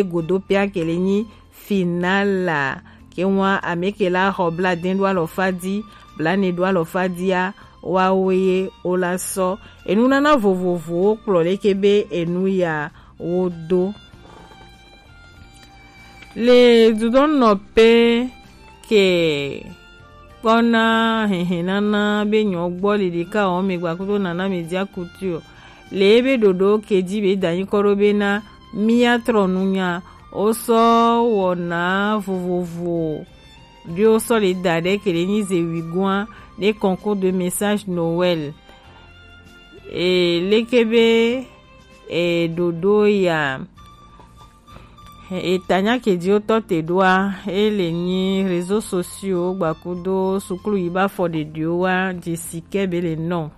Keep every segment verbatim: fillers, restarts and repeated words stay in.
godo pia ke le nyi finala. Ke wa ame ke la xɔ bla den do alɔfa di, bla ne do alɔfa dia, wa wo ye o la sɔ. Enu nana vovovowo kplɔ leke be enu ya wo do. Le dudɔnnɔƒe ke kpɔna hehenana be nyɔ gbɔ le ɖeka wɔme gbakudo nana media kutu o. Le ebe ɖoɖo ke dzi be danyi kɔ ɖo be na mía trɔ nunya, wosɔ wɔna vovovo ɖo sɔ le da ɖe ke le nyi ze wi gua ne concours de message Noël. E leke be e ɖoɖo ya. Etanya ke dzi wotɔ te ɖoa, e le nyi réseaux sociaux gbakudo suklu yi ba fɔ ɖeɖiwo wa dzi si ke be le nɔ.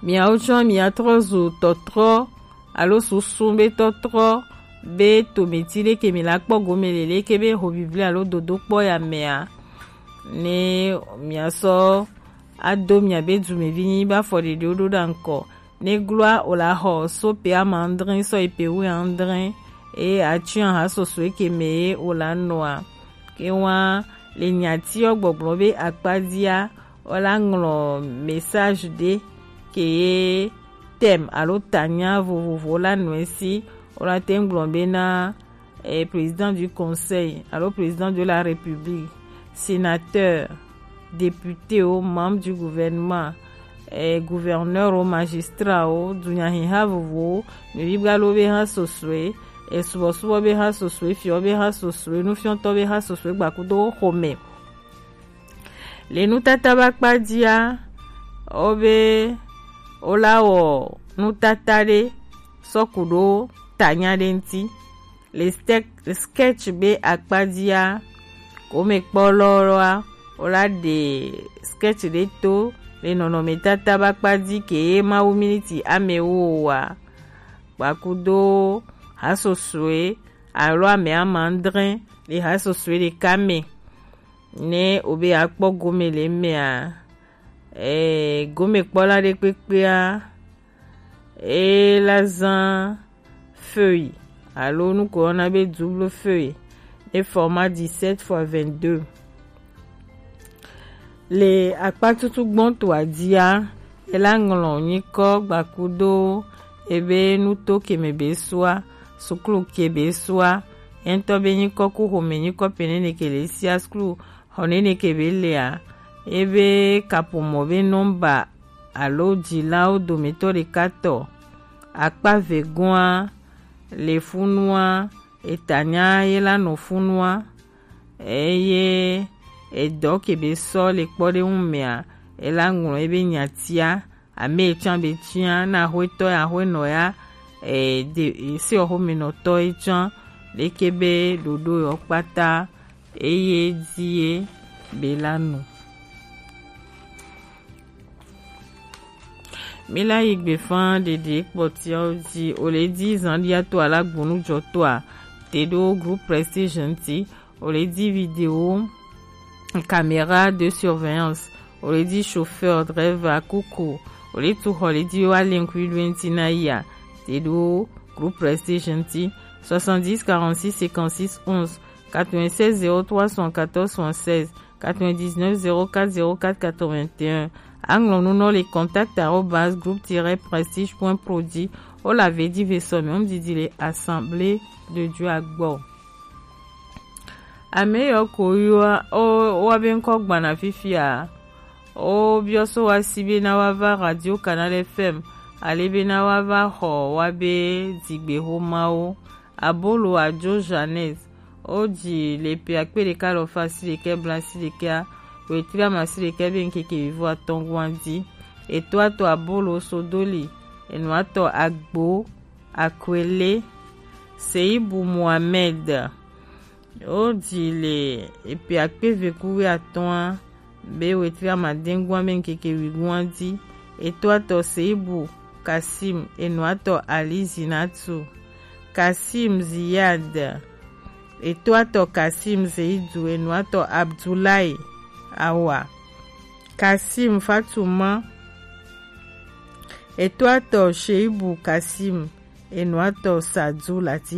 Miawo tsɔ miatrɔ zu tɔtrɔ alo susu be tɔtrɔ be tometi ɖe ke mi la kpɔ gome le leke be ho bibli alo dodo kpɔ ya mea, ne miasɔ ado miabe dumevi nyi ba fɔ ɖeɖiwo ɖo ɖa ŋkɔ. Ne gloa o la xɔ so pe ama adre sɔ yi pe wu adre, e atsi aha soso eke me ye o la nɔa. Ke wa le nyati ɔ gbɔgblɔ be akpadia, o la ŋlɔ message ɖe ke ye thème alo tanya vovovo la nɔe si, o la te ŋgblɔ be na eh, président du conseil alo président de la république, sénateur, député o, membre du gouvernement, eh, gouverneur o, magistrat o, dunyahiha vovowo, nuyigba lo be ha sosoe, eh, subɔsubɔ be ha sosoe, fiɔ be ha sosoe, nufiɔtɔ be ha sosoe gbakudo xome. Le nutata ba kpa dia, o be o la wɔ nutata ɖe sɔ ku ɖo tanya ɖe ŋti. Le stek- sketch be akpa dia, ko me kpɔ lɔ lɔa, o la ɖe sketch ɖe to le nɔnɔmetata ba kpa di ke ye mawu miniti ame wo wa. Gbakudo ha sosoe alo ame ama adre le ha sosoe ɖeka me. Ne o be akpɔ gome le mea, eh, gomekpɔla ɖe kpekpea, e la zã feuille alo nu ko yɔna be double feuille, e format dix-sept fois vingt-deux. Le akpa tutu gbɔntɔa dia, e la ŋlɔ nyikɔ gbakudo ebe nuto ke me be sua, suklu ke be sua, entɔ be nyikɔ ku xome nyikɔ pe nene ke le sia suklu xɔ nene ke be lea, ebe kaƒomɔ be nɔmba alo dzilawo dometɔ ɖeka tɔ. Akpa vegɔa le funua, etanya ye la nɔ funua, eye edɔ ke be sɔ le kpɔɖeŋu mea, e la ŋlɔ ebe nyatia, ame tsã be tia na axwetɔ ya, axwenɔ ya, e de, e, se xɔmenɔtɔ ye tsã, leke be ɖoɖo yɔ kpata, eye di ye be la nu. Mi la yi gbefa ɖeɖe kpɔtiawo dzi, o le di zan dia to ala gbonu jɔ toa, te ɖo groupe Prestige ŋti, o le di vidéo, caméra de surveillance, o le di chauffeur, driver, kuku, o le tu xɔ le di wa le ŋkui ɖo ŋti na ya, te ɖo groupe Prestige ŋti, soixante-dix quarante-six cinquante-six onze, quatre-vingt-seize zéro trois soixante-quatorze soixante-seize, quatre-vingt-dix-neuf zéro quatre zéro quatre quatre-vingt-un. Aŋlɔ nu nɔ le contact arobase groupe tiret prestige point pro dzi. O la ve di ve sɔ mi ŋdidi le Assemblée de Dieu agbɔ. Ame yɔ ko yɔ o wa be ŋkɔ gbana fifia. O biɔ so wa si be na wa va Radio Canal F M, ale be na wa va xɔ wa be digbe xomawo. Abolo Ajo Jeannette, o ji le pe akpe ɖeka lɔ fa si ɖekɛ bla si ɖekɛ a, wetri ama si ɖekɛ be ŋkeke vivo atɔn gua di. Eto atɔ Abolo Sodoli, enu atɔ Agbo Akwele, Seibu Mohamed, o ji le epe akpe ve ku wi atɔn a, be wetri amadɛngua be ŋkeke wigua di. Eto atɔ Seibu Kasim, enu atɔ Ali Zinatu, Kasim Ziyad, eto atɔ Kasim Zeidu, enu atɔ Abdoulaye Awa, Kasim Fatuma, eto atɔ Sheibu Kasim, enu atɔ Sadu Latif